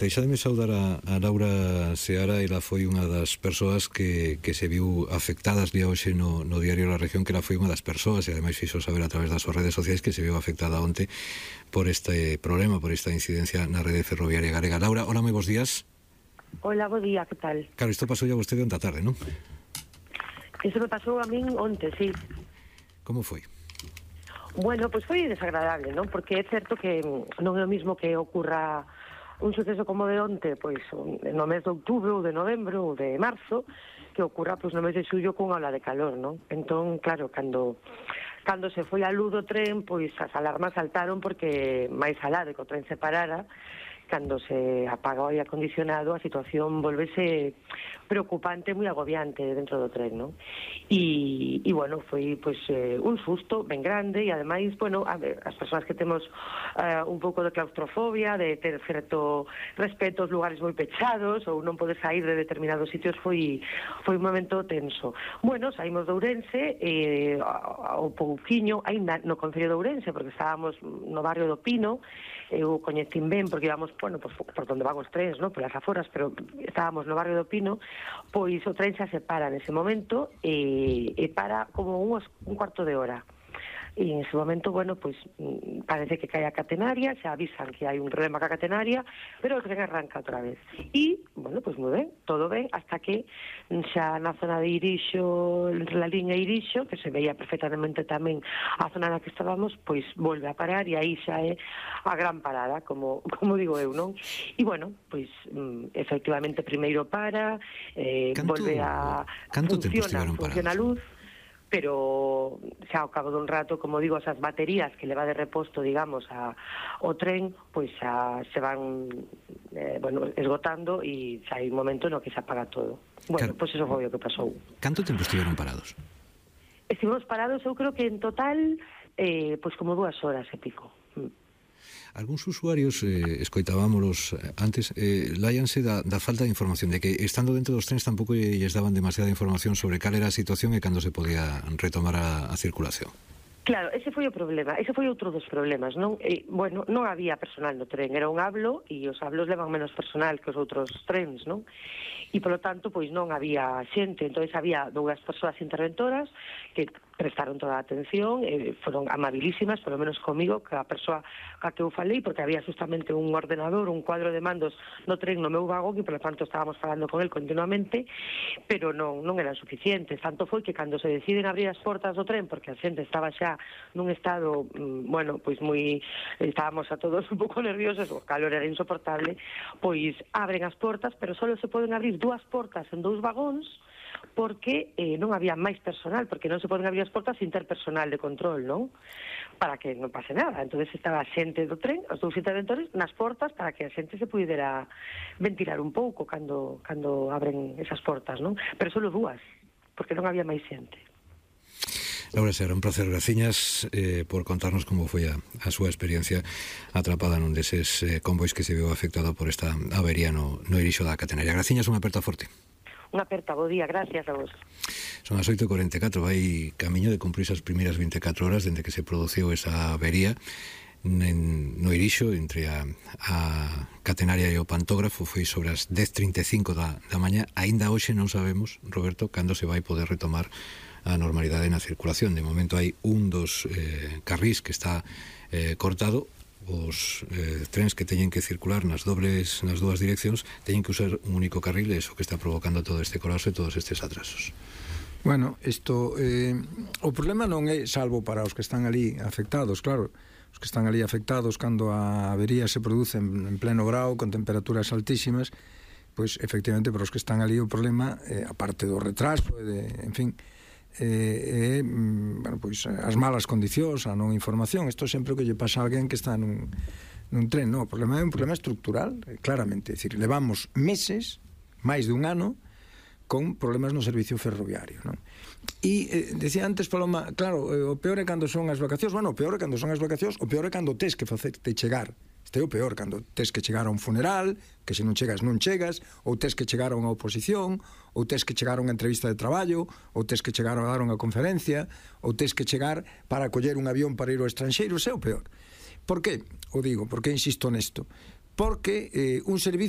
Deixademe saudar a Laura Seara. Ela foi unha das persoas que se viu afectadas día hoxe no diario La Región, que ela foi unha das persoas, e ademais fixo saber a través das súas redes sociais que se viu afectada onte por este problema, por esta incidencia na rede ferroviaria galega. Laura, hola, moi bons días. Hola, bo día, que tal? Claro, isto pasou ya vostede onte a tarde, non? Isto me pasou a min onte, sí. Como foi? Bueno, pois foi desagradable, non? Porque é certo que non é o mismo que ocurra un suceso como de onte, pois no mes de outubro ou de novembro ou de marzo, que ocurra pois no mes de xullo cunha ola de calor, non? Entón, claro, cando se foi a luz do tren, pois as alarmas saltaron porque máis alá de que o tren se parara, cando se apaga o aire acondicionado, a situación volvese preocupante, moi agobiante dentro do tren, non? E bueno, foi pois un susto ben grande, e ademais, bueno, as persoas que temos un pouco de claustrofobia, de ter certo respeto aos lugares moi pechados ou non poder sair de determinados sitios, foi un momento tenso. Bueno, saímos de Ourense ao pouquiño, ainda no concello de Ourense, porque estábamos no barrio do Pino. Eu coñecín ben porque íbamos, bueno, por donde van os trens, non? Polas aforas, pero estábamos no barrio do Pino. Pois o tren xa se para nese momento e para como un cuarto de hora. E en ese momento, bueno, pois parece que cae a catenaria, xa avisan que hai un problema ca catenaria, pero o tren arranca outra vez. E, bueno, pois moi ben, todo ben, hasta que xa na zona de Irixo, entre la liña Irixo, que se veía perfectamente tamén a zona na que estábamos, pois volve a parar, e aí xa é a gran parada, como digo eu, non? E, bueno, pois efectivamente primeiro para, volve a funciona a luz, pero xa ao cabo dun rato, como digo, esas baterías que leva de reposto, digamos, ao tren, pois xa se van esgotando e xa hai un momento no que se apaga todo. Bueno, pois eso foi o que pasou. Canto tempo estiveron parados? Estivemos parados, eu creo que en total pois como 2 horas e pico. Algúns usuarios, escoitábamolos antes, láianse da falta de información, de que estando dentro dos trens tampouco lles daban demasiada información sobre cal era a situación e cando se podía retomar a circulación. Claro, ese foi o problema, ese foi outro dos problemas, non? Bueno, non había personal no tren, era un hablo, e os hablos levan menos personal que os outros trens, non? E, polo tanto, pois non había xente, entón había 2 persoas interventoras que prestaron toda a atención, foron amabilísimas, polo menos comigo, que a persoa a que eu falei, porque había justamente un ordenador, un cuadro de mandos no tren no meu vagón, e polo tanto estábamos falando con el continuamente, pero non eran suficientes. Tanto foi que cando se deciden abrir as portas do tren, porque a xente estaba xa nun estado, bueno, pois moi, estábamos a todos un pouco nerviosos, o calor era insoportable, pois abren as portas, pero só se poden abrir 2 portas en 2 vagóns, porque non había máis personal, porque non se poden abrir as portas sin ter personal de control, non? Para que non pase nada. Entón estaba a xente do tren, os 2 interventores, nas portas para que a xente se pudera ventilar un pouco cando abren esas portas, non? Pero só 2, porque non había máis xente. Laura Seara, un placer, graciñas por contarnos como foi a súa experiencia atrapada nun deses convois que se viu afectado por esta avería no Irixo da catenaria. Graciñas, unha aperta forte. Unha aperta, bo día, gracias a vos. Son as 8:44, vai camiño de cumprir as primeiras 24 horas dende que se produciu esa avería no Irixo entre a catenaria e o pantógrafo. Foi sobre as 10:35 da mañá. Aínda hoxe non sabemos, Roberto, cando se vai poder retomar a normalidade na circulación. De momento hai un dos carrís que está cortado. Os trens que teñen que circular nas dúas direccións teñen que usar un único carril, e iso que está provocando todo este colapso e todos estes atrasos. Bueno, isto o problema non é salvo para os que están ali afectados, claro. Os que están ali afectados cando a avería se produce en pleno grao, con temperaturas altísimas, pois efectivamente para os que están ali o problema, aparte do retraso, en fin, bueno, pois as malas condicións, a non información. Isto sempre que lle pasa a alguén que está nun tren, non? O problema é un problema estructural, claramente. É dicir, levamos meses, máis dun ano, con problemas no servicio ferroviario, non? E decía antes Paloma, claro, o peor é cando son as vacacións. Bueno, o peor é cando son as vacacións, o peor é cando tes que facerte chegar. Este é o peor, cando tes que chegar a un funeral, que se non chegas, non chegas, ou tes que chegar a unha oposición, ou tes que chegar a unha entrevista de traballo, ou tes que chegar a dar unha conferencia, ou tes que chegar para coller un avión para ir ao estranxeiro. Ese é o peor. Por que o digo? Por que insisto nesto? porque un servicio